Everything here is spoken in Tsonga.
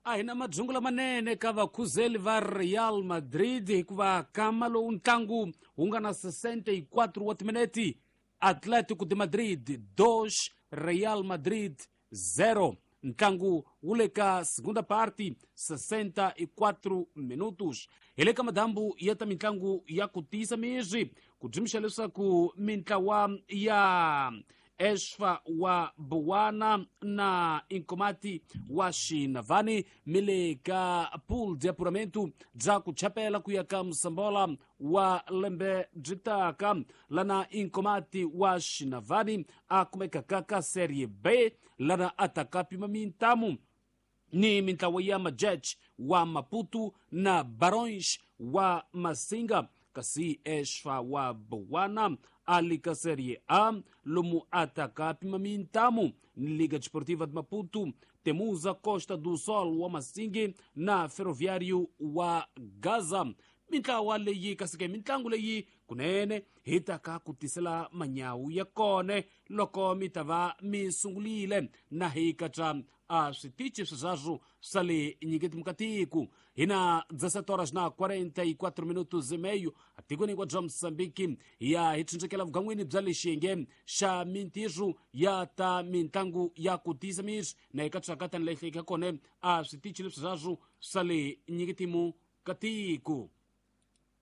A hi na madzungu lamanene ka vakhuzeli va Real Madrid, hikuva kama lowu ntlangu wu nga na 64 wa timinete, Atletico de Madrid 2, Real Madrid 0. Ntlangu wu le ka segunda parte, 64 minutos. Hi le ka madambu ya ta mitlangu ya ku tiyisa mizwi ku dyimixa leswaku mintlawa ya Esfa wa Buwana na Inkomati wa Xinavani mi le ka pool de apuramento bya ku chapela ku ya ka Musambola wa lembe byi taka, lana Inkomati wa Xinavani a kumekaka ka Serie B, lana a taka pima mintamu ni mintlawa ya Majech wa Maputo na Barões wa Masinga, kasi Esfa wa Buwana a li ka Serie A, lomu a taka pima mintamu ni Liga Desportiva de Maputo, Temuza Costa do Sol wa Masingi na Ferroviário wa Gaza. Mintlawa leyi kasi ke mitlangu leyi kunene hi ta ka ku tisela manyawu ya kone loko mi ta va mi sungulile na hi katsa a switichi sweswaswo swa le nyiketi mukatiku. Hi na 17 horas na 44 minutos e meio atikweni hinkwabyo bya Mosambiki. Hi ya hi tshundzekela vugan'wini bya le xiyenge xa mintirho ya ta mitlangu ya ku tiyisa miri na hi katsaka tani leyi hlekeka kone a switichi leswi sweswaswo swa le nyiketimu ka tiko.